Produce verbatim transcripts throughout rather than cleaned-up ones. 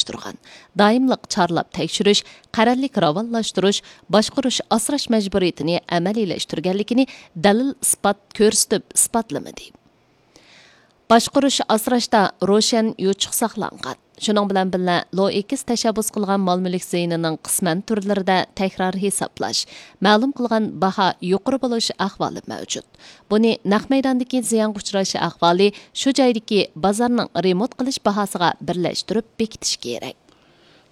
ئورۇنلاشتۇرغان، دائىملىق چارلاپ تەكشۈرۈش، قەرەللىك راۋانلاشتۇرۇش، باشقۇرۇش ئاسراش مەجبۇرىيىتىنى ئەمەلىيلەشتۈرگەنلىكىنى دەلىل ئىسپات كۆرسىتىپ ئىسپاتلىمىدى. باشقۇرۇش ئاسراشتا روشەن يوچۇق ساقلانغان. شۇنىڭ بىلەن بىللە، لوئېكس تەشەببۇس قىلغان مال مۈلۈك زىيىنىنىڭ قىسمەن تۈرلىرىدە تەكرار ھېسابلاش، مەلۇم قىلغان باھا يۇقىرى بولۇش ئەھۋالى مەۋجۇت. بۇنى نەق مەيداندىكى زىيانغا ئۇچراش ئەھۋالى، شۇ جايدىكى بازارنىڭ رېمونت قىلىش باھاسىغا بىرلەشتۈرۈپ بېكىتىش كېرەك.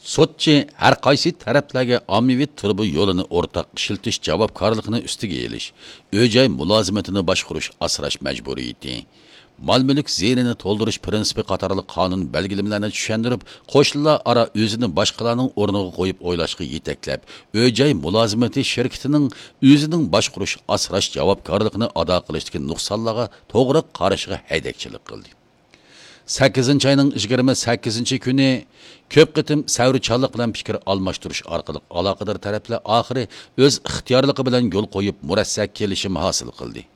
سوتچى ھەر قايسى تەرەپلەرگە ئاممىۋى تۇرۇبا يولىنى ئورتاق ئىشلىتىش جاۋابكارلىقىنى ئۈستىگە ئېلىش، ئۆي-جاي مۇلازىمىتىنى باشقۇرۇش ئاسراش مەجبۇرىيىتى، مال-مۈلۈك زىيىنىنى تولدۇرۇش پىرىنسىپى قاتارلىق قانۇن بەلگىلىمىلەرنى چۈشەندۈرۈپ، قوشنىلار ئارا ئۆزىنى باشقىلارنىڭ ئورنىغا قويۇپ ئويلاشقا يېتەكلەپ، ئۆي-جاي مۇلازىمىتى شىركىتىنىڭ ئۆزىنىڭ باشقۇرۇش ئاسراش جاۋابكارلىقىنى ئادا قىلىشتىكى نۇقسانلارغا توغرا قارىشىغا ھەيدەكچىلىك قىلدى. سەككىزىنچى ئاينىڭ يىگىرمە سەككىزىنچى كۈنى كۆپ قېتىم سەۋرچانلىق بىلەن پىكىر ئالماشتۇرۇش ئارقىلىق ئالاقىدار تەرەپلەر ئاخىرى ئۆز ئىختىيارلىقى بىلەن يول قويۇپ مۇرەسسە كېلىشىم ھاسىل قىلدى.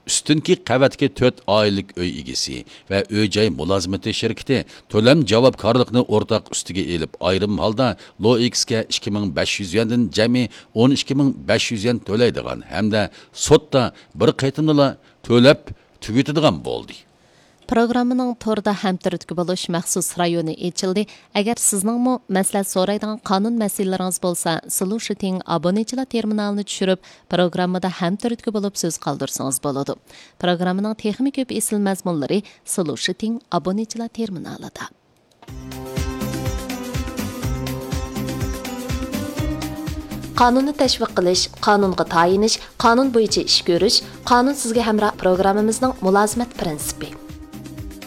ئۈستۈنكى قەۋەتتىكى تۆت ئائىلىلىك ئۆي ئىگىسى ۋە ئۆي-جاي مۇلازىمىتى شىركىتى تۆلەم جاۋابكارلىقىنى ئورتاق ئۈستىگە ئېلىپ، ئايرىم ھالدا لوئېكسكە ئىككى مىڭ بەش يۈز يۈەندىن جەمئىي ئون ئىككى مىڭ بەش يۈز يۈەن تۆلەيدىغان ھەمدە سوتتا بىر قېتىمدىلا تۆلەپ تۈگىتىدىغان بولدى. پروگراممىنىڭ توردا ھەمتۈرتكە بولۇش مەخسۇس رايونى ئېچىلدى. ئەگەر سىزنىڭمۇ مەسلىھەت سورايدىغان قانۇن مەسىلىلىرىڭىز بولسا، سولۇشىتىڭ ئابۇنىچىلار تېرمىنالىنى چۈشۈرۈپ، پروگراممىدا ھەمتۈرتكە بولۇپ سۆز قالدۇرسىڭىز بولىدۇ. پروگراممىنىڭ تېخىمۇ كۆپ ئېسىل مەزمۇنلىرى سولۇشىتىڭ ئابۇنىچىلار تېرمىنالىدا. قانۇننى تەشۋىق قىلىش، قانۇنغا تايىنىش، قانۇن بويىچە ئىش كۆرۈش، قانۇن سىزگە ھەمراھ پروگراممىمىزنىڭ مۇلازىمەت پىرىنسىپى.